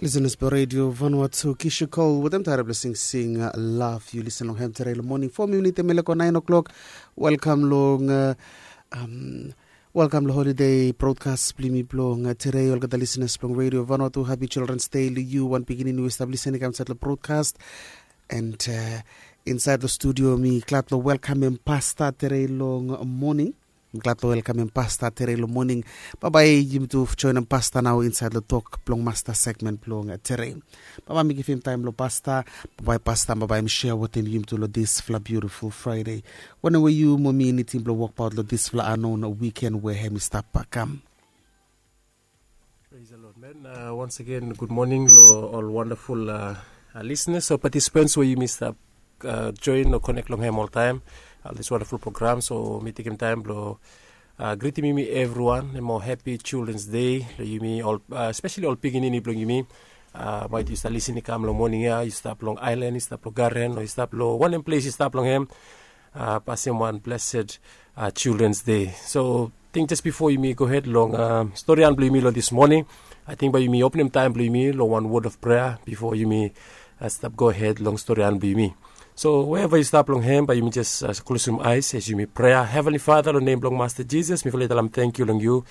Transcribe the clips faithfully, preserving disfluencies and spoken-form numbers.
Lisenas blong Radio Vanuatu, Kishu Cole wetem taere blong singsing, Love. Yu lisen long hem tere long moning fo minit em i leko naen o'klok. Welkam long, welkam long holidei brodkas blong yumi blong tere. Olgeta lisenas blong Radio Vanuatu, hapi Childrens Dei long yu. Wan pikinini we i stap lisen i kam insaed long brodkas. And insaed long studio mi glad long welkamem pasta tere long moning. Mi glad long welkamem pasta tere long moning. Bambae yumi tu joenem pasta nao insaed long tok blong masta segmen blong tere. Bambae mi givim taem long pasta. Bambae pasta bambae mi sea wetem yumi tu long disfala biutiful Fraede, wanem we yu mo mi i nidim blong wokbaot long disfala anon wiken we hem i stap kam. Praise the Lord, man. Uh, once again, good morning long ol wonderful uh, uh, listeners o participants we yumi stap uh, join o connect long hem oltaem. Uh, this wonderful program, so mi tekem taem blong uh, gritim yumi evriwan mo happy Children's Day long yumi ol, uh, especially ol pikinini blong yumi. Uh, maet yu stap lisen i kam long moning ya, yu stap long aelan, yu stap long garen, o yu stap long wanem ples yu stap long hem. Uh, pasem wan blessed uh, Children's Day. So ting jes bifo yumi gohed long uh, storian blong yumi long this moning, ating bae yumi openem taem blong yumi long wan word of prayer bifo yumi uh, stap gohed long storian blong yumi. So wherever yu stap long hem, bae yumi jes uh, klosem aes as yumi prea. Heavenly Father, long nem blong Masta Jisas, mifala i talem tangkiu long yu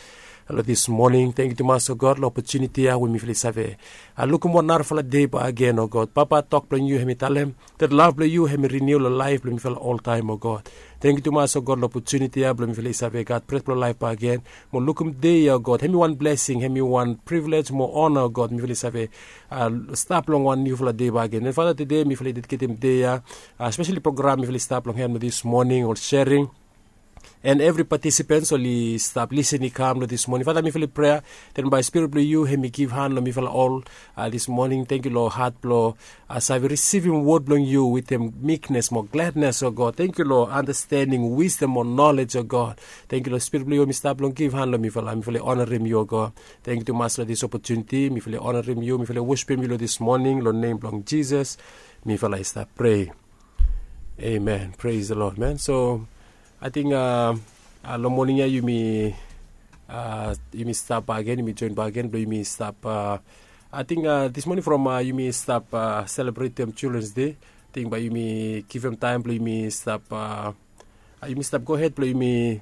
long this moning. Tangkiu tumas, o God, long opotuniti ya we mifala i save uh, lukim wan narafala dei bagen, o God. Papa, tok blong yu hem i talem that love blong yu hem i riniu long laef blong mifala oltaem, o God. Tangkiu tumas, o God, long opotuniti ya blong mifala i save gat bret blong laef bagen mo lukim dei ya, o God. Hem i wan blesing, hem i wan privilege mo ona, o God, mifala i save uh, stap long wan niufala dei bagen. And Father, tede mifala i dediketem dei ya, uh, especially program mifala i stap long hem long this moning, ol sharing, and evri participants oli stap lisen i kam long this moning. Father, mifala i prea that bae Spirit blong yu hem i givhan long mifala ol uh, this moning. Tangkiu long hat blong uh, save risivim word blong yu wetem meekness mo gladness, o God. Tangkiu long understanding, wisdom mo knowledge, o God. Tangkiu long Spirit blong yu hem i stap long givhan long mifala, mifala i onarem yu, o God. Tangkiu tumas long this opotuniti. Mifala i onarem yu, mifala i wosipem yu long this moning, long nem blong Jisas mifala i stap prea. Amen. Praise the Lord, man. So ating uh, uh, long moning ya yumi uh, yumi stap bagen, yumi joen bagen blong yumi stap uh, ating uh, this moning from uh, yumi stap uh, selebretem Children's Day. Ating bae yumi givim taem blong yumi stap uh, uh, yumi stap gohed blong yumi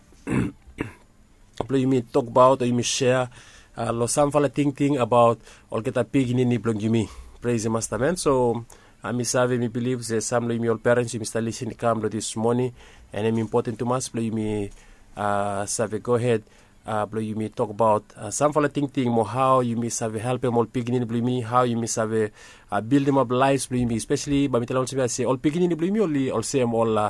blong yumi tokbaot o yumi sea uh, long samfala tingting abaot olgeta pikinini blong yumi. Praise the Master, man. So uh, mi save, mi bilif se sam long yumi ol parents yumi stap lisen i kam long this moning, and hem impoten tumas blong yumi uh, save gohed uh, blong yumi tokbaot uh, samfala tingting mo hao yumi save helpem ol pikinini blong yumi, hao yumi save uh, bildimap laefs blong yumi, especially bae mi talem olsem ya se ol pikinini blong yumi oli olsem ol uh,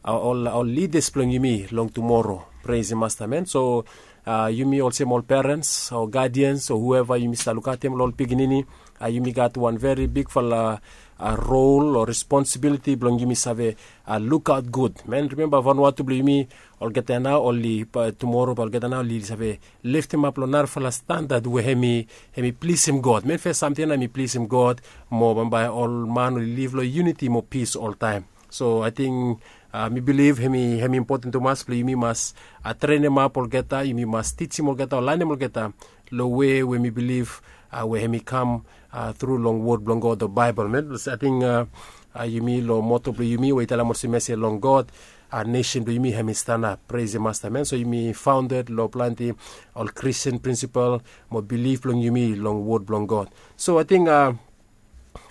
uh, ol, ol lidas blong yumi long tumoro. Praise the Master, man. So uh, yumi olsem ol parents o guardians o whoever yumi stap lukaotem long ol pikinini, uh, yumi gat wan veri bigfala uh, role o responsibility blong yumi save uh, lukaot gud, man. Rimemba Vanuatu blong yumi, olgeta nao oli uh, tumoro bae olgeta nao oli save leftemap long narafala standad we hem i, hem i plisim God, man. Fes samting ya hem i plisim God mo bambae ol man oli liv long unity mo pis oltaem. So ating uh, mi bilif hem i, hem i impoten tumas blong yumi mas uh, trenemap olgeta, yumi mas tijim olgeta o lanem olgeta long wei we mi bilif uh, we hem i kam uh, tru long wod blong God o Baebol, man. Ating uh, uh, yumi long moto blong yumi we i talem olsem ya se long God uh, nesen blong yumi hem i stanap. Praise the Master, man. So yumi founded long plante ol Christian principle mo bilif blong yumi long wod blong God. So ating uh,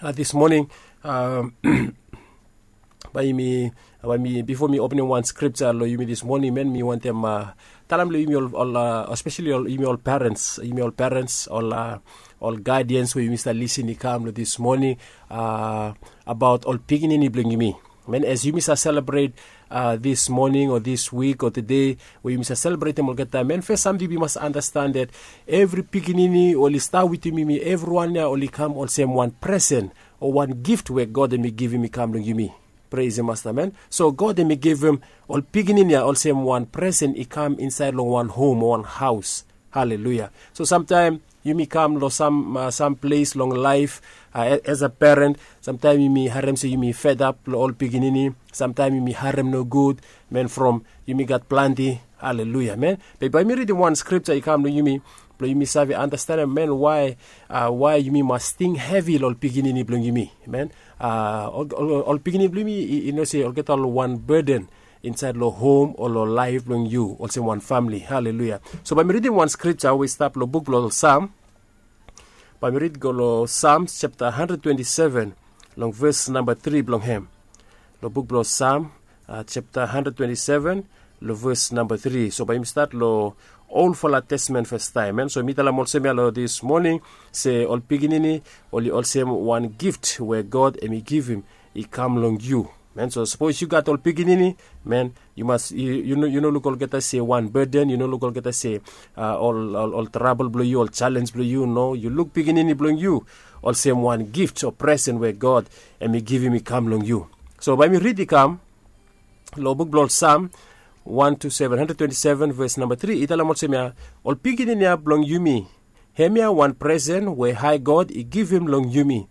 uh, this moning uh, bae yumi, bae mi, bifo mi openem wan scripture long yumi this moning, man, mi wantem uh, talem long yumi ol, ol uh, especially ol, yumi ol parents, yumi ol parents, ol uh, ol guardians we yumi stap lisen i kam long this moning uh, abaot ol pikinini blong yumi. Man, as yumi stap selebret uh, this moning o this week o tede we yumi stap selebretem olgeta, man, fes samting yumi mas andastan that evri pikinini oli stap wetem yumi, evriwan ya oli kam olsem wan presen o wan gift we God hem i givim i kam long yumi. Praise the Master, man. So God hem i givim ol pikinini ya olsem wan presen i kam insaed long wan hom o wan haos. Haleluya. So samtaem yumi kam long sam, uh, sam ples long laef uh, as a parent, samtaem yumi harem se yumi fedap long ol pikinini. Samtaem yumi harem nogud, man, from yumi gat plante. Haleluya, man. Be bae mi ridim wan scripture i kam long yumi blong yumi save andastanem, men, wae wae yumi mas ting hevi long ol pikinini blong yumi, men. Ol pikinini blong yumi, i no se olgeta ol wan beden insaed long hom o long laef blong yu olsem wan famili. Haleluia. So bae mi ridim wan skripta we i stap long buk blong sam. Bae mi rid go long Sams japta handred twenti seven, long ves namba tri blong hem. Long buk blong Sam japta handred twenti seven, long ves namba tri. So bae yumi stat long olfala testamen fastaem, men. So mi talem olsem ya long dis moning se ol pikinini oli olsem wan gift we God hem i givim i kam long yu, men. So sapos yu gat ol pikinini, men, yu mas yu no luk olgeta se wan beden, yu no luk olgeta se ol trabol blong yu, ol jalenj blong yu. No, yu luk pikinini blong yu olsem wan gift o presen we God hem i givim i kam long yu. So bae mi rid i kam long buk blong ol Sam wan tu seven, handred twenti seven, ves namba tri, i talem olsem ya, ol pikinini ya blong yumi, hemia wan presen we hae God i givim long yumi,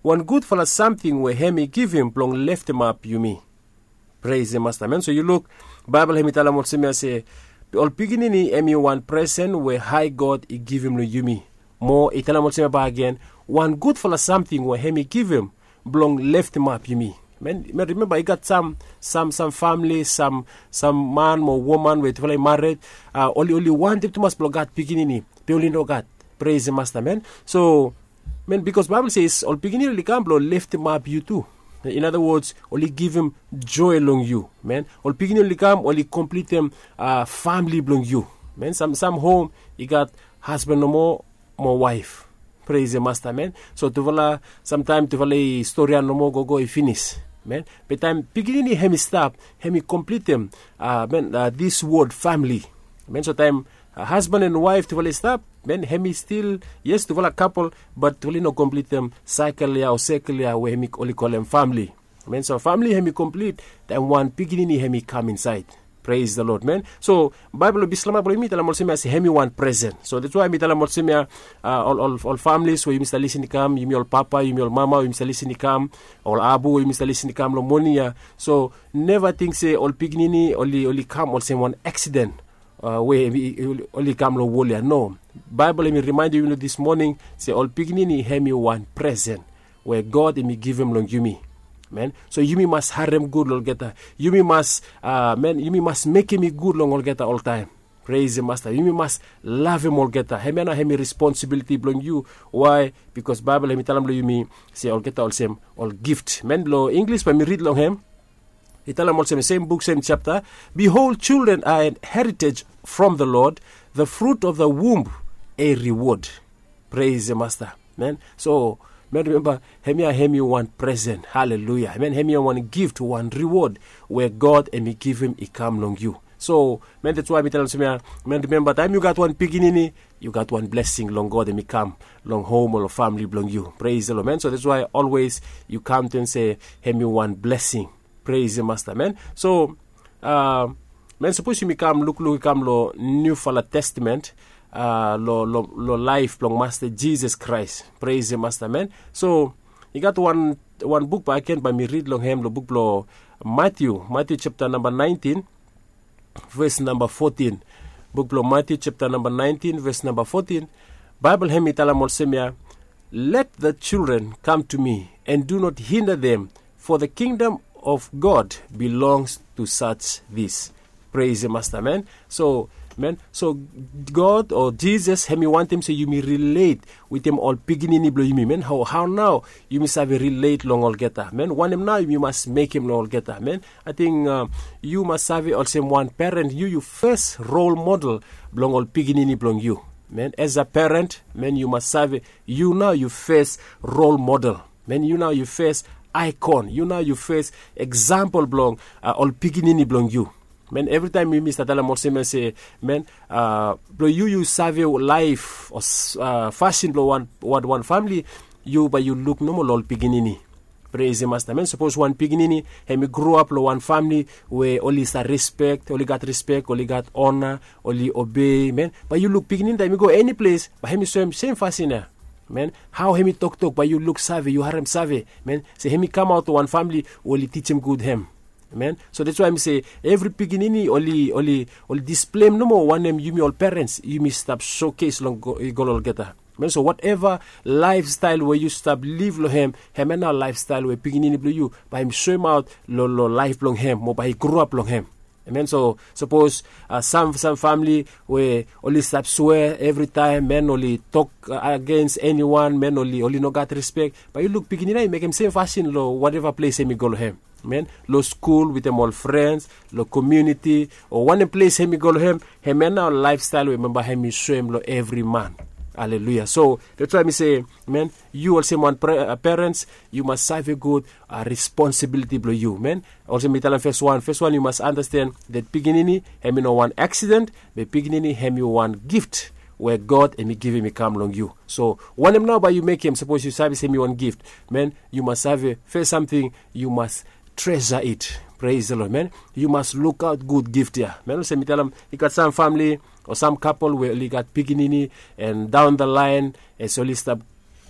wan gudfala samting we hem i givim blong leftemap yumi. Pres de Masta, men. So yu luk, Baebol hem i talem olsem ya se ol pikinini hem i wan presen we hae God i givim long yumi. Mo i talem olsem ya bakegen, wan gudfala samting we hem i givim blong leftemap yumi. Men, rimemba i gat sam sam famili, sam man mo woman we tufala i mared, oli wantem tumas blong gat pikinini, be oli no gat. Pres de Masta, men. So, men, bikos Baebol se ol pikinini oli kam blong leftemap yu tu. In ada wods, oli givim joe long yu, men. Ol pikinini oli kam, oli komplitem famili blong yu, men. Sam hom i gat hasban nomo mo waef. Pres de Masta, men. So tufala, samtaem tufala i storian nomo gogo i finis, men. Be taem pikinini hem i stap, hem i komplitem, men, dis wod famili, men. So taem hasban en waef tufala i stap, men, hem i stil, yes, tufala kapol, bat tufala i no komplitem saekel ya o sekel ya we hem i oli kolem famili, men. So famili hem i komplit taem wan pikinini hem i kam insaed. Pres de Lod, men. So Baebol blong Bislama blong yumi i talem olsem ya se hem i wan presen. So dats wae mi talem olsem ya, ol familis we yumi stap lisin i kam, yumi ol papa, yumi ol mama we yumi stap lisin i kam, ol abu we yumi stap lisin i kam long moning ya. So neva ting se ol pikinini oli kam olsem wan aksiden we oli kam long wol ya. No. Baebol hem i rimaendem yumi long dis moning se ol pikinini hem i wan presen we God hem i givim long yumi, men. So yumi mas harem gud long olgeta. Yumi mas, men, yumi mas mekem i gud long olgeta oltaem. Pres de Masta. Yumi mas lavem olgeta. Hemia nao hem i responsibiliti blong yu. Wae? Bikos Baebol hem i talem long yumi se olgeta olsem ol gift, men. Long Inglis bae mi rid long hem. I talem olsem, sem buk, sem japta, "Behold, children are an heritage from the Lord, the fruit of the womb a reward." Pres de Masta, men. So men, rimemba, hemia hem i wan presen. Haleluia. Men, hemia wan gift, wan riwod we God hem i givim i kam long yu. So men, dats wae mi talem olsem ya, men, rimemba, taem yu gat wan pikinini, yu gat wan blesing long God hem i kam long hom o long famili blong yu. Pres de Lod, men. So dats wae olwes yu kaontem se hem i wan blesing. Pres de Masta, men. So men, sapos yumi kam lukluk i kam long Niufala Testamen, long laef blong Masta Jisas Kraes. Pres de Masta, men. So i gat wan buk bakegen bae mi rid long hem, long buk blong Matiu, Matiu japta namba naentin, ves namba fotin. Buk blong Matiu japta namba naentin, ves namba fotin. Baebol hem i talem olsem ya, "Let the children come to me, and do not hinder them, for the kingdom of God belongs to such this." Pres de Masta, men. So men, so God o Jisas hem i wantem se yumi rilet wetem ol pikinini blong yumi, men. Hao nao yumi save rilet long olgeta, men? Wanem nao yumi mas mekem long olgeta, men? Ating yu mas save olsem wan peren, yu yu fes rol model blong ol pikinini blong yu, men. As a peren, men, yu mas save yu nao yu fes rol model, men. Yu nao yu fes aikon, yu nao yu fes eksampol blong ol pikinini blong yu, men. Evritaem yumi stap talem olsem ya se, men, blong yu yu save laef o fasin blong wan famili, yu bae yu luk nomo long ol pikinini. Pres de Masta, men. Sapos wan pikinini hem i groap long wan famili we oli stap rispek, oli gat rispek, oli gat ona, oli obei, men, bae yu luk pikinini taem i go eniples bae hem i soem sem fasin ya, men. Hao hem i toktok, bae yu luksave, yu haremsave, men, se hem i kamaot long wan famili we oli tijim gud hem. Amen. So dats wai mi se evri pikinini oli oli oli displem nomo wanem yumi ol perens yumi stap sokes long i go long olgeta. Amen. So wateva laefstael we yu stap liv long hem, hem ya nao laefstael we pikinini blong yu bae hem soemaot long long laef blong hem o bae i gruap long hem. Amen. So sapos sam sam famili we oli stap swea evritaem men oli tok agens eniwan men oli oli no gat rispek, bae yu luk pikinini ya i mekem sem fasin long wateva ples hem i go long hem. Amen. Long skul wetem ol frens, long komiuniti, o wanem ples hem i go long hem, hem ya nao laefstael we bambae hem i soem long evri man. Aleluia. So dats wai mi se, amen, yu olsem wan perens yu mas save gud responsibiliti blong yu men. Olsem mi talem fes wan fes wan yu mas anasten dat pikinini hem i no wan aksiden, be pikinini hem i wan gift we god hem i givim i kam long yu. So wanem nao bae yu mekem sapos yu save se hem i wan gift, men, yu mas save fes samting, yu mas tresa it. Pres de lod men, yu mas lukaot gud gift ya men olsem mi talem i gat sam famili o sam kapol we oli gat pikinini, en daon da laen, as oli stap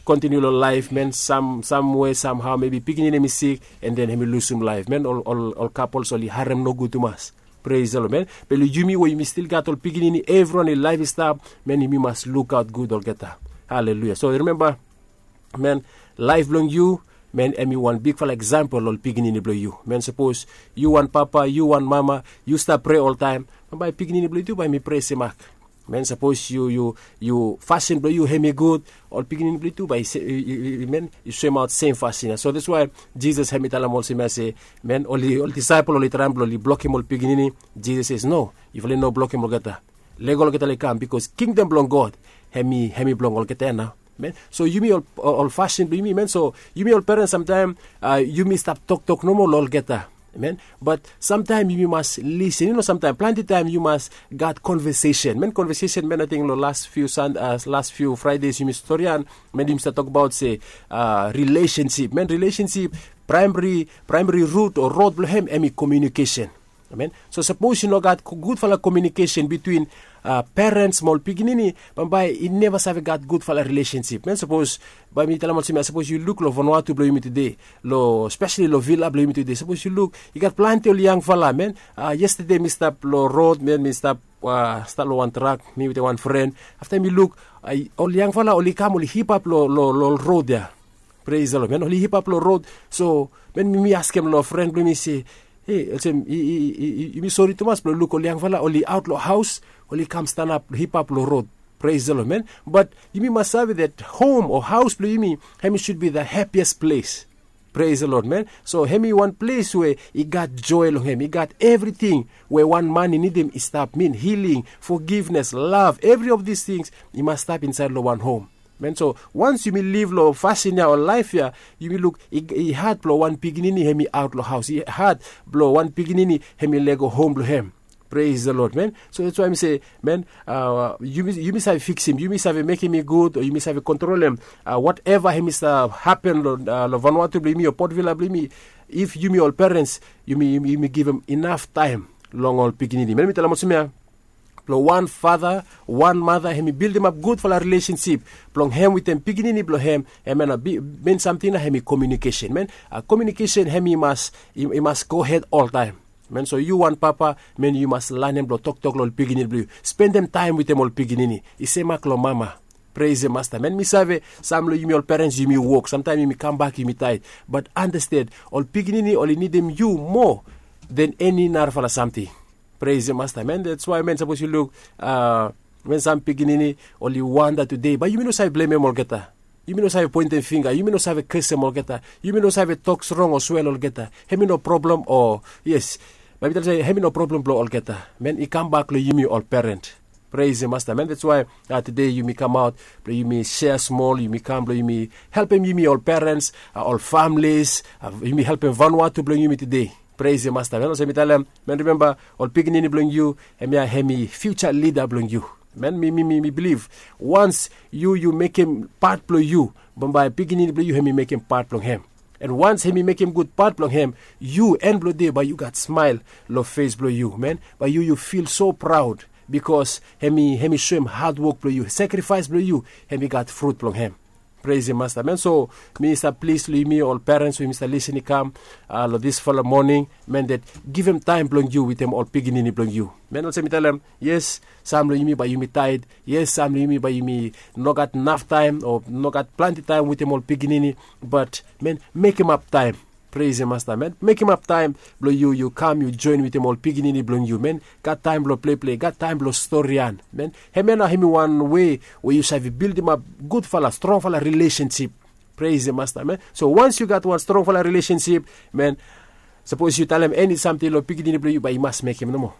kontiniu long laef men sam sam we samhao mebi pikinini hem i sik, en den hem i lusum laef men ol ol ol kapols oli harem nogud tumas. Pres de lod men, be long yumi we yumi stil gat ol pikinini evriwan i laef i stap, men yumi mas lukaot gud olgeta. Haleluia. So rimemba, men, laef blong yu, men, hem i wan bigfala eksampol long ol pikinini blong yu men sapos yu wan papa yu wan mama, yu stap prea oltaem, bambae pikinini blong yu tu bae hem i prea semak. Men sapos yu yu yu fasin blong yu hem i gud, ol pikinini blong yu tu bae i men i soemaot sem fasin ya. So dats wai jisas hem i talem olsem ya se, men, ol disaepol oli traem blong oli blokim ol pikinini. Jisas se no, yufala i no blokim olgeta. Lego olgeta long i kam bikos kingdom blong god hem i hem i blong olgeta ya nao. Men, so yumi ol ol fasin blong yumi men so yumi ol perens samtaem yumi stap toktok nomo long olgeta. Men, bat samtaem yumi mas lisen yu no samtaem plante taem yu mas gat konvesesen men konvesesen men ating long las fiu san las fiu fraedes yumi storian, men yumi stap tokbaot se rilesensip men rilesensip, praemari praemari rut o rod blong hem hem i komiunikesen. Amen. So sapos i no gat gudfala komiunikesen bitwin perens mo ol pikinini, bambae i neva save gat gudfala rilesensip men sapos bae mi talem olsem ya sapos yu luk long vanua tu blong yumi tude, long spesali long vila blong yumi tude sapos yu luk i gat plante ol yangfala men. Yestade mi stap long rod men mi stap stap long wan trak mi wetem wan fren, afta mi luk ol yangfala oli kam oli hipap long long long rod ya. Pres long men oli hipap long rod. So men mi askem long fren blong mi se, e olsem yumi sori tumas blong luk ol yangfala oli aot long haos, oli kam stanap hipap long rod. Pres long men, bat yumi mas save dat hom o haos blong yumi hem i sud bi da hepias ples. Pres long men, so hem i wan ples we i gat joe long hem i gat evriting we wan man i nidim i stap min hiling, fogivnes lav evri of dis tings i mas stap insaed long wan hom. Men so wans yumi liv long fasin ya o laef ya, yumi luk i had blong wan pikinini hem i aot long haos i had blong wan pikinini hem i lego hom blong hem. Pres long lod men, so dats wai mi se men, yumi save fiksim yumi save mekim i gud o yumi save kontrolem wateva hem i save hapen long vanua tu blong yumi o potvila blong yumi. If yumi ol perens yumi yumi givim inaf taem long ol pikinini men mi talem olsem ya, blong wan fata wan mata hem i bildimap gudfala rilesensip blong hem wetem pikinini blong hem. Hem ya na bin samting na hem i komiunikesen men. Komiunikesen hem i mas i mas gohed oltaem. Men so yu wan papa men yu mas lanem blong toktok long ol pikinini blong yu spendem taem wetem ol pikinini i semak long mama. Pres masta men mi save sam long yumi ol perens yumi wok samtaem yumi kambak yumi taet, bat andasten ol pikinini oli nidim yu moa den eni narafala samting. Pres masta men dats wai men sapos yu luk a men sam pikinini oli wanda tude bae yumi no save blemem olgeta. Yumi no save poentem finga yumi no save kesem olgeta yumi no save tok strong o swel olgeta hem i no problem o yes, bae mi talem se hem i no problem blong olgeta men i kambak long yumi ol perens. Pres masta men dats wai tude yumi kamaot blong yumi sea smol yumi kam blong yumi helpem yumi ol perens, ol familis, yumi helpem vanua tu blong yumi tude. Pres masta men olsem mi talem men rimemba, ol pikinini blong yu hem ya hem i fiuja lida blong yu. Men mi mi mi mi biliv wans yu yu mekem pat blong yu, bambae pikinini blong yu hem i mekem pat blong hem. An wans hem i mekem gud pat blong hem, yu en blong de bae yu gat smael long fes blong yu men bae yu yu fil so praod, bikos hem i hem i soem hadwok blong yu sakrifaes blong yu hem i gat frut blong hem. Pres ya masta men, so mi stap plis long yumi ol perens we yumi stap lisin i kam long disfala moning, men dat givim taim blong yu witim ol pikinini blong yu. Men olsem mi talem, yes, sam long yumi bai yumi taid, yes, sam long yumi bai yumi no gat naf taim o no gat planti taim witim ol pikinini. Bat men, mekim ap taim. Pres ya masta men, mekim ap taim blong yu yu kam yu join witim ol pikinini blong yu men, gat taim blong pleple gat taim blong storian men, hem ya nao hem i wan we we yu save bildimap gudfala strongfala rilesensip. Pres ya masta men, so wans yu gat wan strongfala rilesensip, men, sapos yu talem eni samting long pikinini blong yu bai i mas mekim nomo.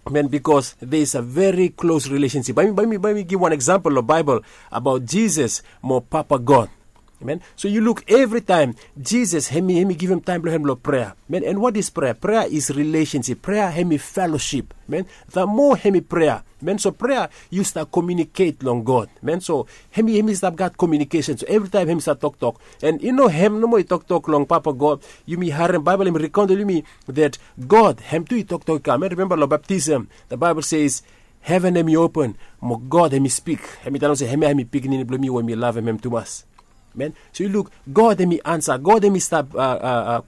Men bikos de is a veri klos rilesensip bai mi bai mi bai mi givim wan eksampel long baibel abaot jisas mo papa god. Men, so yu luk evritaim jisas hem i hem i givim taim blong hem long prea men, and wat is prea prea is rilesensip prea hem i felosip. Men, the moa hem i prea men so prea yu stap komiuniket long god men so hem i hem i stap gat komiunikesen so evritaim hem i stap toktok. And i no hem nomo i toktok long papa god. Yumi harim baibel hem i rikaundel yumi dat god hem tu i toktok i kam men rimemba long baptism, the bible says heven hem i open mo god hem i spik, hem i talem se hem ya hem i pikinini blong mi we mi lavim hem tumas. Men, so yu luk god hem i ansa god hem i stap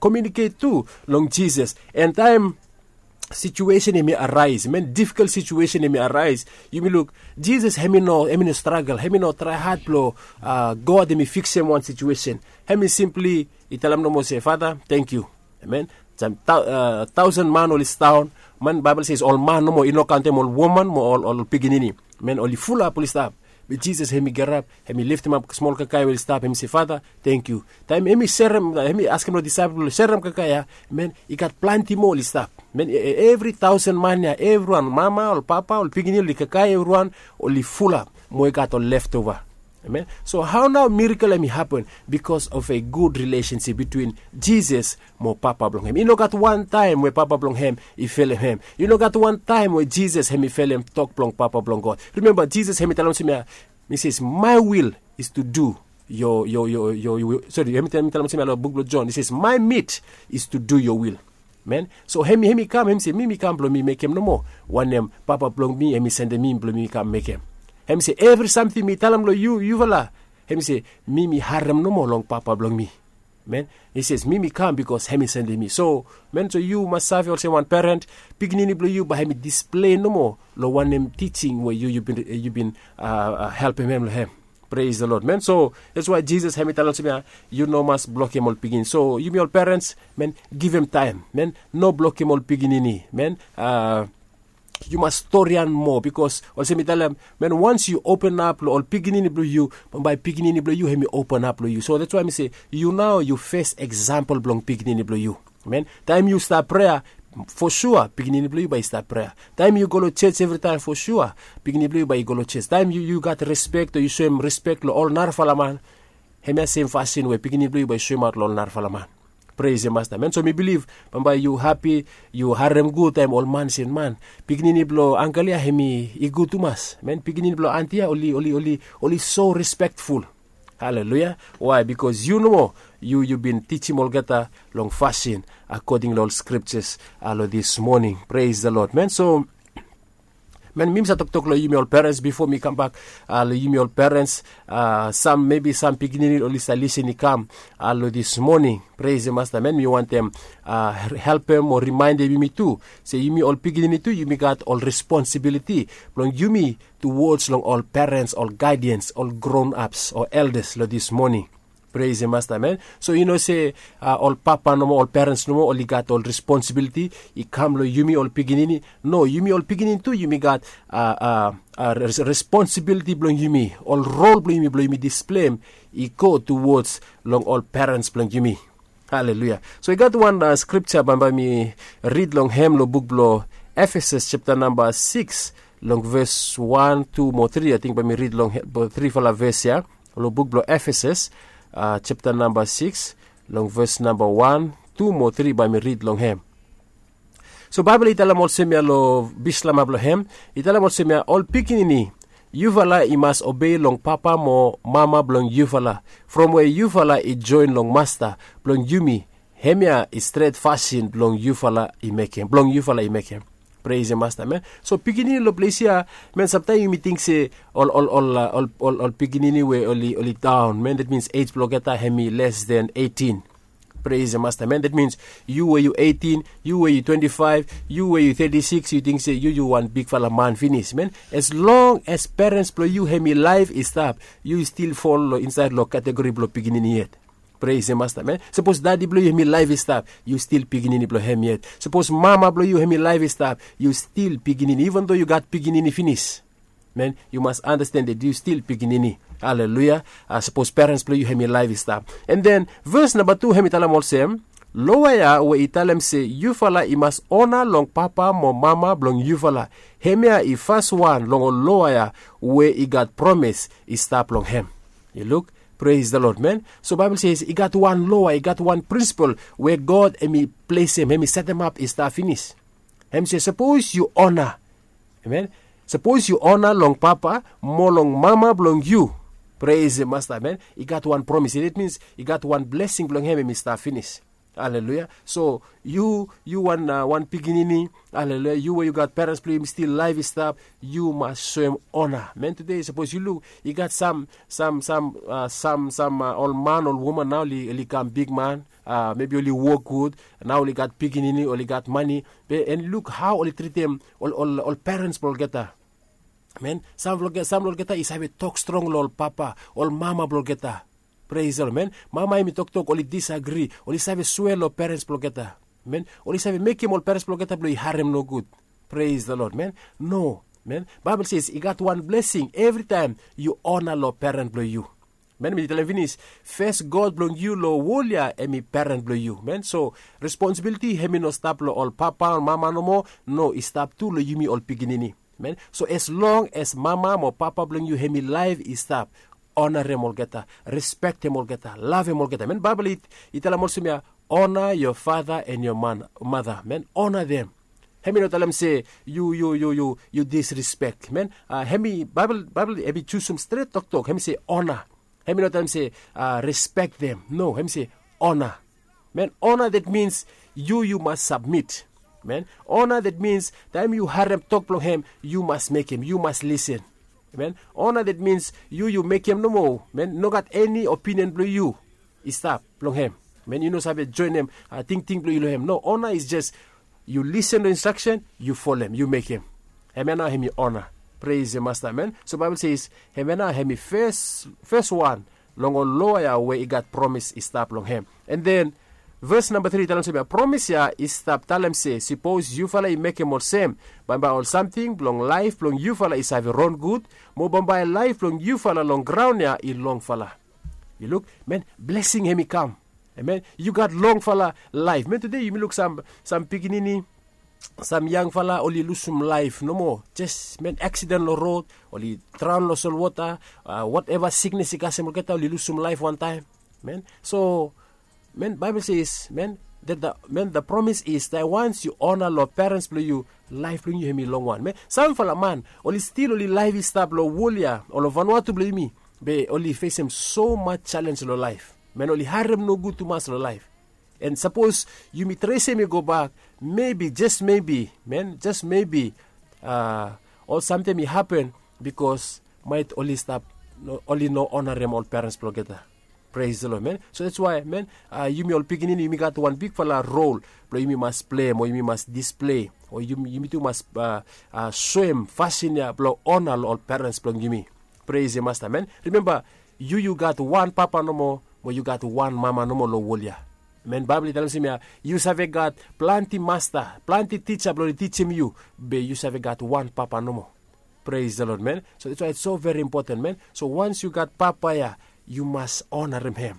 komiuniket tu long jisas. And taim situesen hem i arais men difikol situesen hem i arais, yumi luk jisas hem i no hem i no stragel hem i no traihad blong god hem i fiksim wan situesen. Hem i simpli i talem nomo se fata, tenkyu. Amen. Taosen man oli sidaon man baibel ses ol man nomo i no kantem ol woman mo ol pikinini. Men oli fulap oli stap. Be jisas hem i garap hem i liftimap smol kakae we oli stap hem i se fata, tenkyu. Taem hem i serem hem i askem long disaepel blong serem kakae ya, men i gat plante moa oli stap. Men evri taosen man ya evriwan mama ol papa ol pikinini oli kakae evriwan oli fulap mo i gat ol leftova. Amen. So hao nao mirakel hem i hapen? Bikos of a gud rilesensip bitwin jisas mo papa blong hem i no gat wantaem we papa blong hem i felem hem. I no gat wantaem we jisas hem i felem tok blong papa blong god. Rimemba jisas hem i talem olsem ya, i ses my will is to do yo yo yo yo sori hem i talem olsem ya long buk blong jon i ses my meat is to do yo will. Men, so hem i hem i kam hem i se mi mi kam blong mi mekem nomo wanem papa blong mi hem i sendem mi blong mi kam mekem. Hem i se evri samting mi talem long yu yufala, hem i se mi mi harem nomo long papa blong mi. Men, i ses mi mi kam bikos hem i sendem mi so men so yu mas save olsem wan peren pikinini blong yu bai hem i displei nomo long wanem tijing we yu yu bin helpim hem long hem. Pres the lod men so, dats wae jisas hem i talem olsem ya, yu no mas blokim ol pikinini so yumi ol perens men, givim taem men, no blokim ol pikinini men. Yu mas storian moa bikos olsem i talem men wans yu openap long ol pikinini blong yu, bambae pikinini blong yu hem i openap long yu so dats wae mi se yu nao yu fes eksampel blong pikinini blong yu. Men, taem yu stap prea fo sua pikinini blong yu bai i stap prea. Taem yu go long ses evritaem fo sua pikinini blong yu bai i go long ses taem yu gat respek o yu soem respek long ol narafala man, hemia sem fasin we pikinini blong yu bai i soemaot long ol narafala man. Pres ya masta men so mi bilif bambae yu hapi yu harem gud taem ol man sem man, pikinini blong angel ya hem i gud tumas men pikinini blong anti ya oli oli oli oli so respektful. Haleluya. Wae bikos yu nomo yu yu bin tijim olgeta long fasin akoding long ol skriptas long dis moning. Pres the lod men so, men mi mi save toktok long yumi ol perens bifo mi kambak long yumi ol perens, sam mebi sam pikinini oli save lisin i kam long dis moning. Pres the masta men mi wantem helpem o rimaendem yumi tu se yumi ol pikinini tu yumi gat ol responsibiliti blong yumi tuwods long ol perens ol gaidians ol gron aps o eldas long dis moning. Pres the masta men, so i no se ol papa nomo ol perens nomo oli gat ol responsibiliti i kam long yumi ol pikinini. No, yumi ol pikinini tu yumi gat responsibiliti blong yumi ol rol blong yumi blong yumi displeim i go tuwods long ol perens blong yumi. Haleluya. So i gat wan skripta bambae mi rid long hem long buk blong efesas septa namba sikis long ves wan tu mo tri ating bae mi rid long trifala ves ya long buk blong efesas septa namba sikis long ves namba wan tu mo tri bae mi rid long hem. So baibel i talem olsem ya long bislama blong hem, i talem olsem ya ol pikinini, yufala i mas obei long papa mo mama blong yufala, from we yufala i joen long masta blong yumi. Hemia i stret fasin blong yufala i mekem blong yufala i mekem. Pres ya masta men. So pikinini long ples ya, men, samtaim yumi ting se ol ol ol ol pikinini we oli oli daon, men, dat mins ej blong olgeta hem i les den eighteen. Pres ya masta men, dat mins yu we yu eighteen, yu we yu twenty five, yu we yu thirty six, yu ting se yu yu wan bigfala man finis, men. As long as perens blong yu hem i laif i stap, yu stil fol long insaed long kategori blong pikinini yet. Pres ya masta men. Sapos dadi blong yu hem i laif i stap, yu stil pikinini blong hem yet. Sapos mama blong yu hem i laif i stap, yu stil pikinini, iven do yu gat pikinini finis. Men, yu mas anasten dat yu stil pikinini. Aleluya. Sapos perens blong yu hem i laif i stap, an den ves namba tu hem i talem olsem, loa ya we i talem se yufala i mas ona long papa mo mama blong yufala, hemia i faswan long ol loa ya we i gat promis i stap long hem. Yu luk. Pres da lod men. So baibel se i gat wan loa, i gat wan prinsipol we god hem i plesem, hem i setemap i stap finis. Hem se sapos yu ona, amen, sapos yu ona long papa mo long mama blong yu, pres ya masta men, i gat wan promis, dat mins i gat wan blesing blong hem hem i stap finis. Aleluya. So yu yu wan wan pikinini, aleluya, yu we yu gat perens blong yu hem i stil laif i stap, yu mas soem ona men. Tude sapos yu luk, i gat sam sam sam sam sam ol man ol woman nao oli kam bigman, mebi oli wok gud, nao oli gat pikinini, oli gat mani, be en luk hao oli tritim ol ol ol perens blong olgeta. Men, sam blong olgeta i save tok strong long ol papa, ol mama blong olgeta. Pres da lod men. Mama hem i toktok oli disagri, oli save swea long perens blong olgeta. Men, oli save mekem ol perens blong olgeta blong i harem nogud. Pres da lod men. No, men, baibel se i gat wan blesing evritaem yu ona long peren blong yu. Men, mi talem finis, fes god blong yu long wol ya hem i peren blong yu men. So responsibiliti hem i no stap long ol papa ol mama nomo. No, i stap tu long yumi ol pikinini. Men, so as long as mama mo papa blong yu hem i laif i stap, onarem olgeta, respektem olgeta, lavem olgeta men. Baibel i talem olsem ya, ona yo fata an yo mata men, ona dem. Hem i no talem se yu yu yu yu yu disrespek men. Hem i baibel baibel hem i jusum stret toktok, hem i se ona. Hem i no talem se respektem, no, hem i se ona. Men, ona dat mins yu yu mas sabmit. Men, ona dat mins taem yu harem tok blong hem, yu mas mekem, yu mas lisen. Men, ona dat mins yu yu mekem nomo, men, nogat eni opinion blong yu i stap long hem. Men, yu no save joenem tingting blong yu long hem. No, ona is jes yu lisen long instraksen, yu folem, yu mekem. Hem ya nao hem i ona. Pres ya masta men. So baibel se is hem ya nao hem i fes fes wan long ol loa ya we i gat promis i stap long hem. An den ves namba tri i talem olsem ya, promis ya i stap talem se sapos yufala i mekem olsem, bambae ol samting blong laef blong yufala i save ron gud, mo bambae laef blong yufala long graon ya i longfala. Yu luk, men, blesing hem i kam. Amen. Yu gat longfala laef, men. Tude yumi luk sam pikinini, sam yangfala oli lusum laef nomo, jes men, aksiden long rod, oli draon long solwota, woteva siknes i kasem olgeta, oli lusum laef wantaem. Men, so men, baibel ses men, da promis is dat wans yu ona long perens blong yu, laef blong yu hem i longwan. Men, samfala man oli stil oli laef i stap long wol ya o long vanua tu blong yumi, be oli fesem somas jalenj long laef. Men, oli harem nogud tumas long laef. An sapos yumi tresem i gobak, mebi, jes mebi, men, jes mebi, ol samting i hapen bikos maet oli stap, oli no onarem ol perens blong olgeta. Pres long, men. So dats wae, men, yumi ol pikinini yumi gat wan bigfala rol blong yumi mas plei, o yumi mas displei, o yumi tu mas soem fasin ya blong ona long ol perens blong yumi. Pres ya masta, men. Rimemba, yu yu gat wan papa nomo, mo yu gat wan mama nomo long wol ya. Men, baibel i talem olsem ya, yu save gat plante masta, plante tija blong oli tijim yu, be yu save gat wan papa nomo. Pres long lod, men. So dats wae its so veri impoten, men. So wans yu gat papa ya, yu mas onarem hem.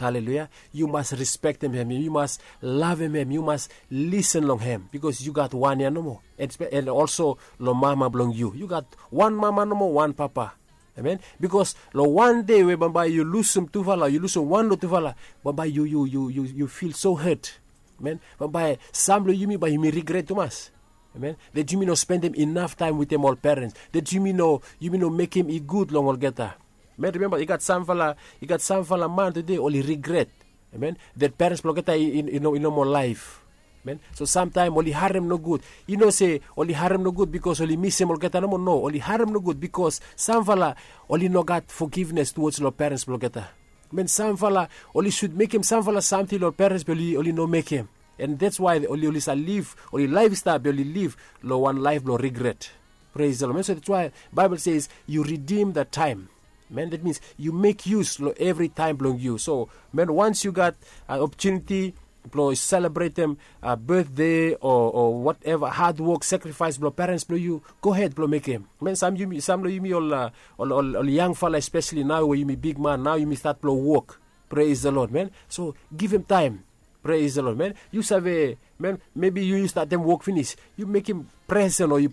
Haleluya. Yu mas respektem hem, yu mas lavem hem, yu mas lisen long hem, bikos yu gat wan ya nomo. An olso long mama blong yu, yu gat wan mama nomo, wan papa. Amen. Bikos long wan dei we bambae yu lusum tufala, yu lusum wan long tufala, bambae yu yu yu yu fil so het. Men, bambae sam blong yumi bae yumi rigret tumas. Amen. Dat yumi no spendem inaf taem wetem ol perens, dat yumi no yumi no mekem i gud long olgeta. Men, rimemba, i gat samfala, i gat samfala man tude oli rigret. Amen. Dat perens blong olgeta i no moa laef. Men, so samtaem oli harem nogud. Yu no se oli harem nogud bikos oli misim olgeta nomo. No, oli harem nogud bikos samfala oli no gat fogivnes tuwoj long perens blong olgeta. Men, samfala oli sud mekem samfala samting long perens blong oli, oli no mekem. And that's why oli oli sa liv, oli laef i stap be oli liv long wan laef blong rigret. Praise the Lord. Men, so that's why Bible says you redeem the time. Men, that means you make use long evri taem blong yu. So men, once you got an opportunity blong selebretem birthday o whatever hard work, sacrifice blong parents blong yu, go ahead blong mekem. Men, sam long yumi ol yangfala, especially nao we yumi bigman nao, yumi stat blong wok. Praise the Lord, men. So givim taem. Praise the Lord, men. Yu save, men, maybe yu yu statem wok finis, yu mekem presen o yu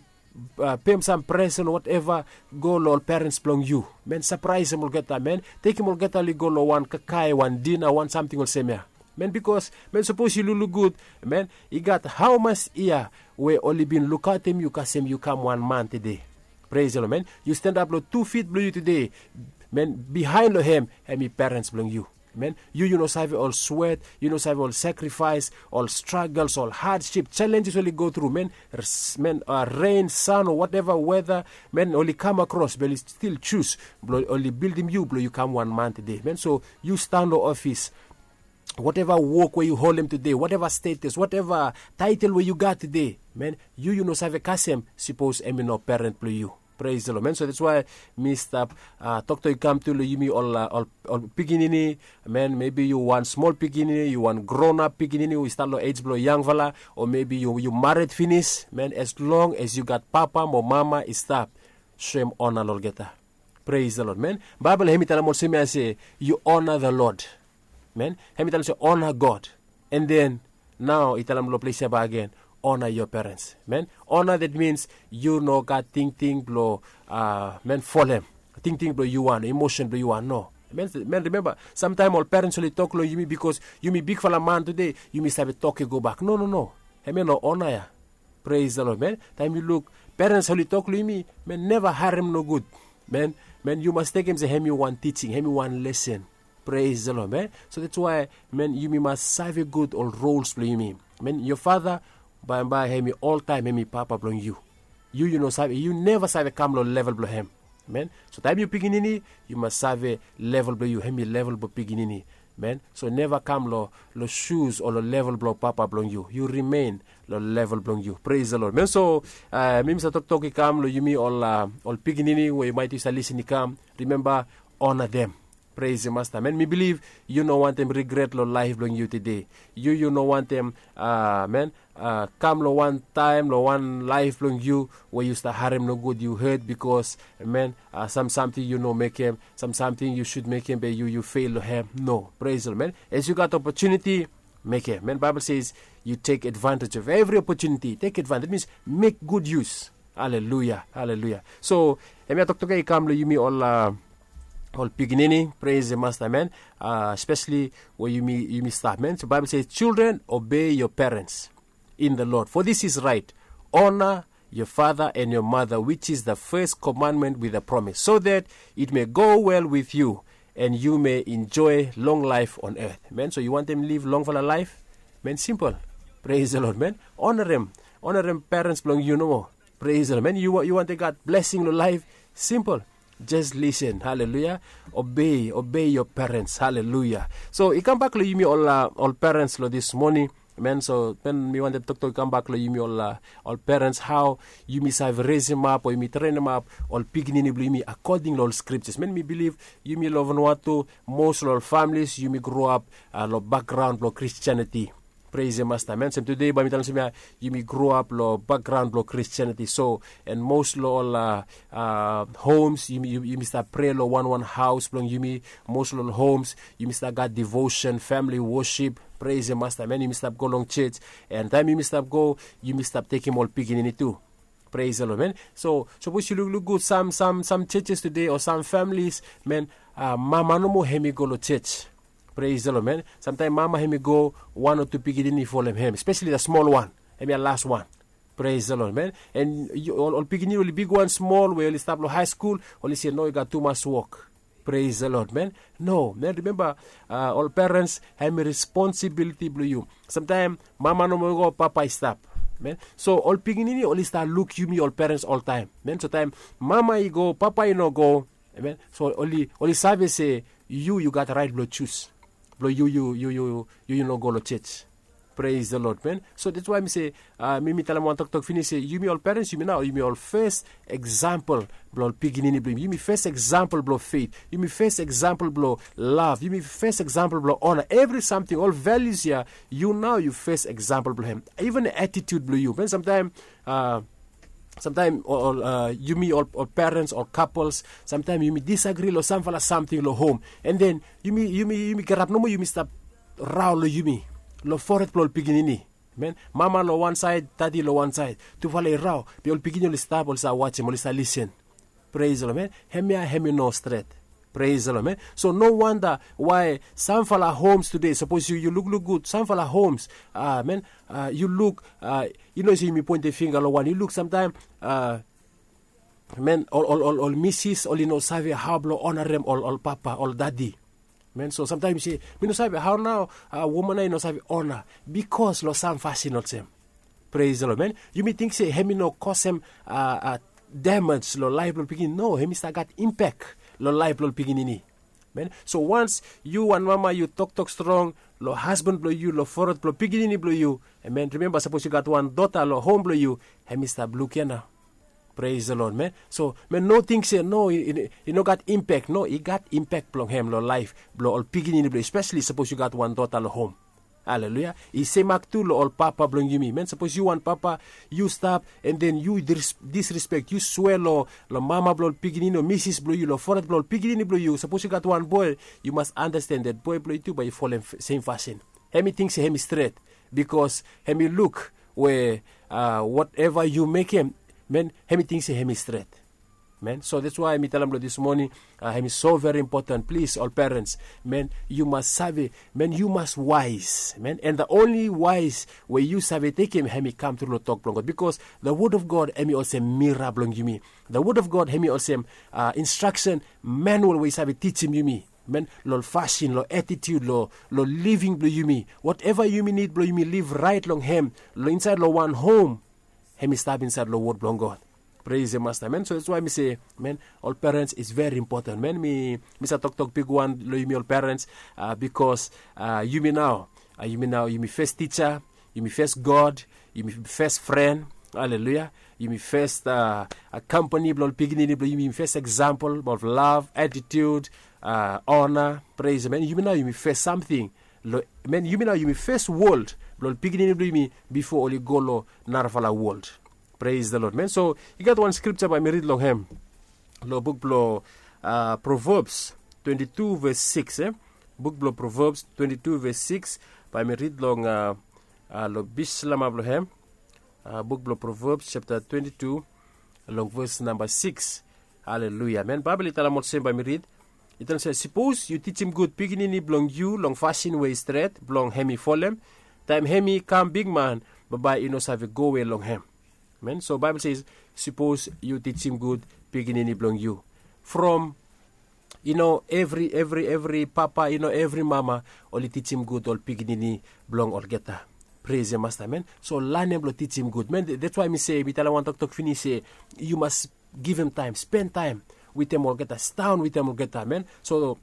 pem sam presen o whatever, go long ol parents blong yu. Men, sapraesem olgeta, men, tekem olgeta oli go long wan kakae, wan dina, wan samting olsem ya. Men, bikos men, sapos yu lukluk gud, men, i gat hamas yia we oli bin lukaotem yu kasem yu kam wan man tede. Praise the Lord, men. Yu standap long tu fit blong yu tede. Men, bihaen long hem hem i parents blong yu. Men, yu yu no save ol swet, yu no save ol sakrifaes, ol stragels, ol hadship, selenjes oli go tru, men. Men, ren, san o whatever weta, men, oli kam akros be oli stil jus blong oli bildim yu blong yu kam wan man tede, men. So yu stan long ofis, whatever wok we yu holem tede, whatever status, whatever taetel we yu gat tede, men, yu yu no save kasem sipos hem i no parent blong yu. Praise the Lord, men. So that's why mi stap toktok i kam tu long yumi ol pikinini. Men, mebi yu wan smol pikinini, yu wan gronap pikinini we i stat long ej blong yangfala, o mebi yu mared finis, men, as long as yu gat papa mo mama i stap, soem ona long olgeta. Praise the Lord, men. Baebol hem i talem olsem ya se, yu ona the Lord. Men, hem i talem se ona God. And then nao i talem long ples ya bak agen, ona yo parents. Men, ona, that means yu no gat tingting blong men, folem tingting blong yu wan, emosen blong yu wan, no. Men, rimemba, samtaem ol parents oli tok long yumi bikos yumi bigfala man tude, yumi save tok i gobak. No, no, no. Hem ya no ona ya. Praise the Lord, men. Taem yu luk, parents oli tok long yumi, men, neva harem nogud. Men, men, yu mas tekem se hem i wan tijing, hem i wan lesen. Praise the Lord, men. So that's why, men, yumi mas save gud ol rols blong yumi. Men, yo fata, bae bae hem i oltaem hem i papa blong yu. Yu yu no save, yu neva save kam long level blong hem. Men, so taem yu pikinini, yu mas save level blong yu, hem i level blong pikinini. Men, so neva kam long, long sus o long level blong papa blong yu. Yu rimen long level blong yu. Praise the Lord, men. So mi mi save toktok i kam long yumi ol, ol pikinini we yu maet yu save lisin i kam. Rimemba, ona dem. Praise the Master, men. Mi biliv yu no wantem rigret long laef blong yu tede. Yu yu no wantem, men, kam long wan taem long wan laef blong yu we yu stap harem nogud, yu het bikos, men, sam samting yu no mekem, sam samting yu sud mekem be yu yu fel long hem. No. Praise the Lord, men. As yu gat opotuniti, mekem. Men, Baebol says, yu tek advantage of evri opotuniti. Tek advantage, that means mek gud yus. Haleluya, haleluya. So hemia toktok ya i kam long yumi ol pikinini. Praise the Master, men. Especially we yumi stap, men. So Baebol says, children, obey your parents in the Lord, for this is right. Honor your father and your mother, which is the first commandment with a promise, so that it may go well with you and you may enjoy long life on earth. Men, so yu wantem liv longfala laef? Men, simpol. Praise the Lord, men. Onarem, onarem parents blong yu nomo. Praise the Lord, men. Yu wantem gat blesing long laef? Simpol. Jes lisin. Haleluya. Obey, obey your parents. Haleluya. So i kambak long yumi ol parents long dis moning. Men, so men, mi wantem toktok i kambak long yumi ol parents, hao yumi save resimap o yumi trenimap ol pikinini blong yumi akoding long ol skriptas. Men, mi biliv yumi long Vanuatu, mos long ol familis yumi groap long bakgraon blong Kristianiti. Praise the Master, men. Sem tude bae mi talem olsem ya, yumi groap long bakgraon blong Kristianiti. So, and mos long ol homes yumi stap prea long wanwan haos blong yumi. Mos long ol homes yumi stap gat devotion, famili wosip. Praise the Master, men. Yumi stap go long jos. And taem yumi stap go, yumi stap tekem ol pikinini tu. Praise the Lord, men. So sapos yu lukluk gud, sam, sam, sam jojes tude o sam familis, men, mama nomo hem i go long jos. Praise the Lord, men. Samtaem mama hem i go, wan o tu pikinini i folem hem, especially the small one. Hemia las wan. Praise the Lord, men. And ol pikinini oli bigwan smol we oli stap long haeskul, oli se no, i gat tumas wok. Praise the Lord, man. No, man, remember, uh, ol parents hem i responsibility blong yu. Sometimes mama no more go, papa i stop, man. So ol pikinini oli start look yumi ol parents all time, man. So time mama i go, papa i no go, amen. So oli oli save se yu yu gat right blong choose blong yu yu yu yu yu yu no go long church. Praise the Lord, man. So that's why mi se, uh, mi mi talem wan toktok finish se yumi ol parents, yumi nao yumi ol first example blong ol pikinini blong yumi. Yumi first example blong faith. Yumi first example blong love. Yumi first example blong honor. Every something, ol values ya, yu nao yu first example blong hem. Even attitude blong yu, man. Sometimes, uh, sometimes ol, ol, uh, yumi ol, ol parents ol couples, sometimes yumi disagree long samfala samting long home. And then yumi yumi yumi gerap nomo, yumi stap rao long yumi, long foret blong ol pikinini. Men, mama long wan saed, dadi long wan saed, tufala i rao. Be ol pikinini oli stap, oli sa wajem, oli sa lisen. Praise the Lord, man. Hemia hem i no stret. Praise the Lord, man. So no wanda why samfala homes today, sapos yu yu lukluk gud, samfala homes, uh, man, uh, yu luk, uh, yu no se yumi pointe finga long wan, yu luk samtaem, uh, man, ol ol ol ol misis oli no save hao blong onarem ol ol papa, ol dadi. Man, so samtaem yu se, mi no save hao nao, uh, woman ya i no save ona, bikos long sam fasin olsem. Praise the Lord, man. Yumi ting se hem i no kosem, uh, uh, damage long laef blong pikinini. No, hem i stap gat impact long laef blong pikinini. Man, so wans yu wan mama yu toktok strong long hasban blong yu, long foret blong pikinini blong yu, amen, rememba sapos yu gat wan dota long hom blong yu, hem i stap luk ya nao. Praise the Lord, man. So man, no ting se no, i no gat impact. No, i gat impact blong hem long laef blong ol pikinini blong yu, especially sapos yu gat wan dota long hom. Aleluya. I semak tu long ol papa blong yumi, man. Sapos yu wan papa, yu stap and then yu disrespek, yu swea long mama blong ol pikinini o misis blong yu, long foret blong ol pikinini blong yu. Sapos yu gat wan boe, yu mas andasten dat boe blong yu tu bae i folem sem fasin. Hem i ting se hem i stret, bikos hem i luk we, uh, woteva yu mekem, man, hem i ting se hem i stret. Man, so that's why mi talem long dis moning, uh, hem i so very important. Plis ol parents, man, yu mas save, man, yu mas wise, man. And the only wise we yu save tekem hem i kam tru long tok blong God, bikos the word of God hem i olsem mira blong yumi. The word of God hem i olsem, uh, instruction manual we i save tijim yumi, man, long fasin, long attitude, long living blong yumi. Woteva yumi nid blong yumi liv raet long hem, long insaed long wan hom, hem i stap insaed long wod blong God. Praise the Master, man. So that's why mi se, man, ol parents is very important, man. Mi mi sa toktok bigwan long yumi ol parents, uh, bikos, uh, yumi nao, uh, yumi nao yumi fes tija, yumi fes God, yumi fes fren. Aleluya. Yumi fes, uh, a kampani blong ol pikinini blong yumi, yumi fes example of love, attitude, uh, honor. Praise, man. Yumi nao yumi fes samting. Lo, man, yumi nao yumi fes wold blong ol pikinini blong yumi bifo oli go long narafala wold. Praise the Lord, man. So i gat wan skripta bae mi rid long hem, long buk blong, uh, Proverbs twenty-two verse six, eh? Buk blong Proverbs twenty-two verse six, bae mi rid long, uh, uh, long bislama blong hem. Uh, buk blong Proverbs chapter twenty-two, long verse number six. Aleluya, man. Baebol i talem olsem, bae mi rid. I talem se, sapos yu tijim gud pikinini blong yu long fasin we i stret blong hem i folem, taem hem i kam bigman, bambae i no save gowe long hem. Man, so Baebol se, sapos yu tijim gud pikinini blong yu. From, i no evri evri evri papa, i no evri mama oli tijim gud ol pikinini blong olgeta. Praise the Master, man. So lanem blong tijim gud, man. That's why mi se, mi talem wan toktok finish se yu mas givim taem, spen taem wetem olgeta, sidaon wetem olgeta, man. So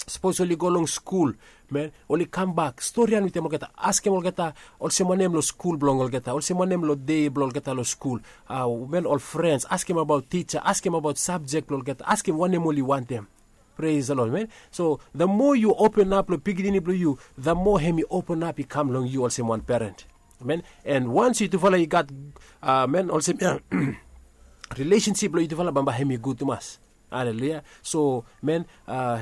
sapos oli go long skul, man, oli kambak, storian wetem olgeta, askem olgeta olsem wanem long skul blong olgeta, olsem wanem long dei blong olgeta long skul. Uh, man, ol frens, askem abaot tija, askem abaot sabjek blong olgeta, askem wanem oli wantem. Praise the Lord, man. So the more yu open ap long pikinini blong yu, the more hem i open ap i kam long yu olsem wan parent, man. And wans yutufala i gat, uh, man, olsem, uh, relationship blong yutufala, bambae hem i gud tumas. Aleluya. So man, uh,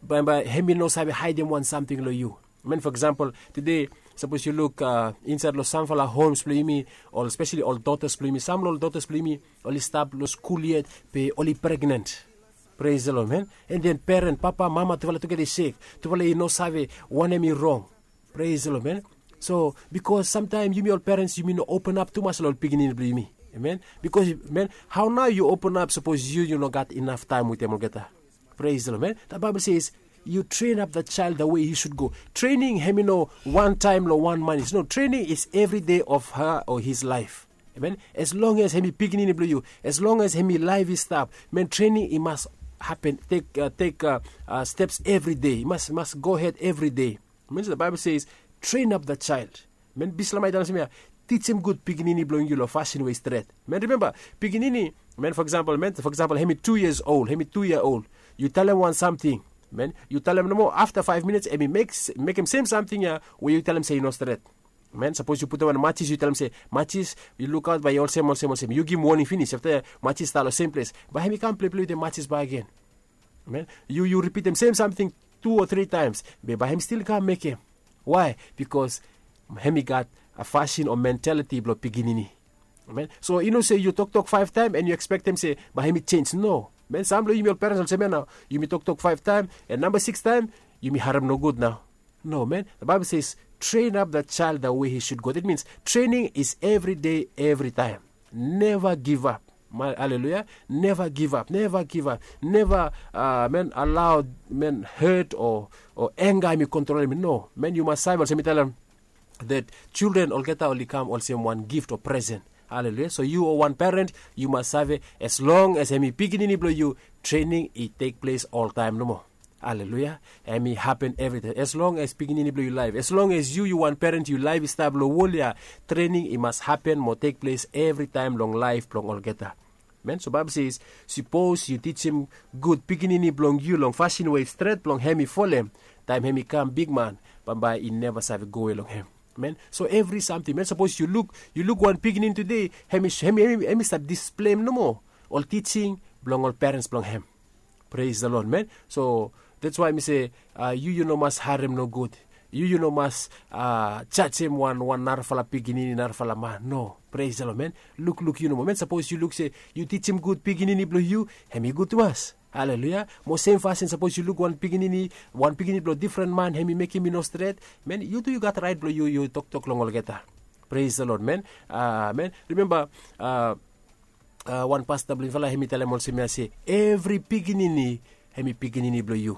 bambae hem i no save haedem wan samting long yu. Man, for example, tede, sapos yu luk, uh, insaed long samfala homes blong yumi, ol especially ol daughters blong yumi, sam long ol daughters blong yumi oli stap long skul yet, be oli pregnant. Praise the Lord, man. And then parent, papa, mama, tufala tugeta i sek. Tufala i no save wanem i rong. Praise the Lord, man. So bikos samtaem yumi ol parents yumi no open ap tumas long ol pikinini blong yumi. Amen. Bikos, man, hao nao yu open ap sapos yu yu no gat inaf taem wetem olgeta? Praise the Lord, man. The Bible says, you train up the child the way he should go. Training hemi no one time lo one month. No, training is every day of her or his life. Amen. As long as hemi pikinini blo you, as long as hemi life i stap, man, training i mas happen, take uh, take uh, uh, steps every day. I mas mas go ahead every day. Means the Bible says, train up the child. Men, Bislama i talem semia, teach him good pikinini blong yu lo fasin we i stret. Men, remember, pikinini, men, for example, men, for example, hemi two years old, hemi two year old. Yu talem wan samting, men, yu talem nomo, afta five minutes hemi mek mek him sem samting ya we yu talem se i no stret. Men, sapos yu putum wan matis, yu talem se, matis, yu lukaut bae i olsem olsem olsem, yu givim woning finis. Afta matis stap lo sem ples, bae hemi kam pleplei wetem matis bakegen. Men, yu yu ripitim sem samting tu o tri taems, be bae hem stil kam mekem. Wae? Bikos hem i gat a fasin o mentaliti blong pikinini. Men, so i no se yu toktok faef taem en yu ekspektem se bae hem i jenj. No. Men, sam blong yumi ol perens olsem ya nao, yumi toktok faef taem, en namba siks taem yumi harem nogud nao. No, men, the Bible says, train up the child the way he should go. That means training is every day, every time. Never give up. Haleluya. Never give up, never give up. Never, uh, men, allow, men, hurt o o enga hem i kontrolem. No, men, yu mas save olsem mi talem, that children olgeta oli kam olsem wan gift o presen. Haleluya. So yu o wan peren, yu mas save, as long as hem i pikinini blong yu, trening i tek ples oltaem nomo. Haleluya. Hem i hapen evritaem, as long as pikinini blong yu laef, as long as yu yu wan peren, yu laef i stap long wol ya, trening i mas hapen mo tek ples evritaem long laef blong olgeta. Men, so Baebol se, sipos yu tijim gud pikinini blong yu long fasin we i stret blong hem i folem, taem hem i kam bigman, bambae i neva save gowe long hem. Men, so evri samting, men, sapos yu luk, yu luk wan pikinini tude, hem i hem i hem i stap displeim nomo ol tijing blong ol perens blong hem. Pres the Lord, men. So that's why mi se, yu yu no mas harem nogud. Yu yu no mas jajem wan wan narafala pikinini, narafala man. No. Pres the Lord, men. Lukluk yu nomo, men. Sapos yu luk se yu tijim gud pikinini blong yu, hem i gud tumas. Haleluya. Mo sem fasin, sapos yu luk wan pikinini, wan pikinini blong difren man, hem i mekem i no stret, men, yu tu yu gat raet blong yu yu toktok long olgeta. Pres the Lord, men. Men, rimemba, wan pasta blong yufala hem i talem olsem ya se, evri pikinini hem i pikinini blong yu.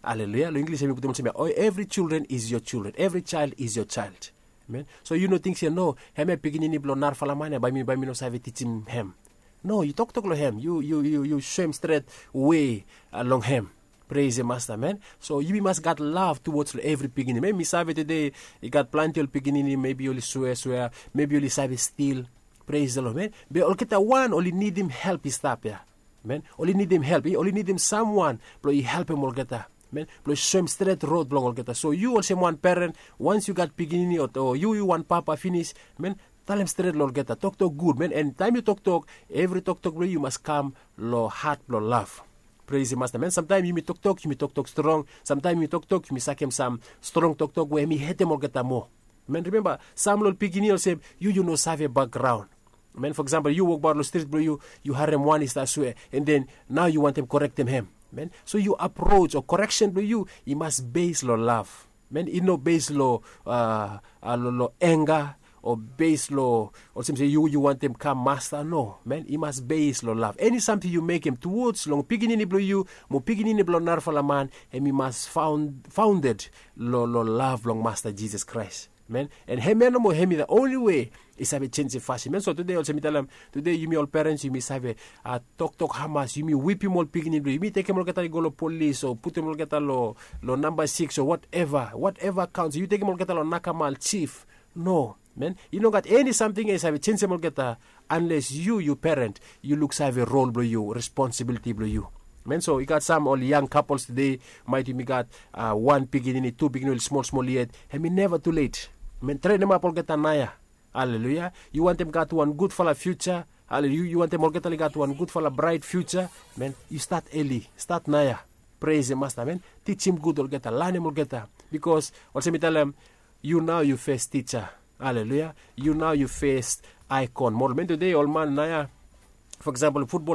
Haleluya. Long Inglis hem i putum olsem ya, evri children is your children, evri child is your child. Men, so yu no ting se, no, hem ya pikinini blong narafala man ya, bae mi bae mi no save tijim hem. No, yu toktok long hem, yu yu yu soem stret we long hem. Pres the Masta, men. So yumi mas gat lav tuwods long evri pikinini. Men, mi save tude i gat plante ol pikinini, mebi oli swea swea, mebi oli save stil. Pres the Lord, men. Be olgeta wan oli nidim help i stap ya. Men, oli nidim help, oli nidim samwan blong i helpem olgeta, men, blong i soem stret rod blong olgeta. So yu olsem wan peren, wans yu gat pikinini o yu yu wan papa finis, men, talem stret long olgeta, toktok gud, men. En taem yu toktok, evri toktok blong yu yu mas kam long hat blong lav. Pres the Masta, men. Samtaem yumi toktok, yumi toktok strong. Samtaem yumi toktok, yumi sakem sam strong toktok we hem i hetem olgeta moa. Men, rimemba, sam long ol pikinini olsem yu yu no save bakgraon. Men, fo eksampol, yu wokbaot long strit blong yu, yu harem wan i stap swea, en den nao yu wantem korektem hem. Men, so yu aprots o koreksen blong yu i mas bes long lav. Men, i no bes long a long enga o bes long olsem se yu yu wantem kam masta. No, men, i mas bes long lav. Eni samting yu mekem tuwods long pikinini blong yu mo pikinini blong narafala man, hem i mas faonded long lav blong Masta Jisas Kraes. Men, en hem ya nomo hem i the only we i save jenjem fasin. Men, so tude olsem mi talem, tude yumi ol perens yumi save toktok hamas, yumi wipim ol pikinini blong yumi, tekem olgeta i go long polis o putum olgeta long namba siks o wateva, wateva kaons, yu tekem olgeta long nakamal, jif. No, men, i no gat eni samting ya i save jenjem olgeta anles yu yu peren, yu luksave rol blong yu, responsibiliti blong yu. Men, so i gat sam ol yang kapols tude, maet yumi gat wan pikinini, tu pikinini oli smol smol yet, hem i neva tulet. Men, trenemap olgeta naoia. Haleluya. Yu wantem gat wan gudfala fiuja. Haleluya. Yu wantem olgeta oli gat wan gudfala braet fiuja. Men, yu stat eli, stat naoia. Pres the Masta, men. Tijim gud olgeta, lanem olgeta. Bikos olsem mi talem, yu nao yu fes tija. Haleluya. Yu nao yu fes aikon. Mo ol men tude, ol man naoia, fo eksampol, futbol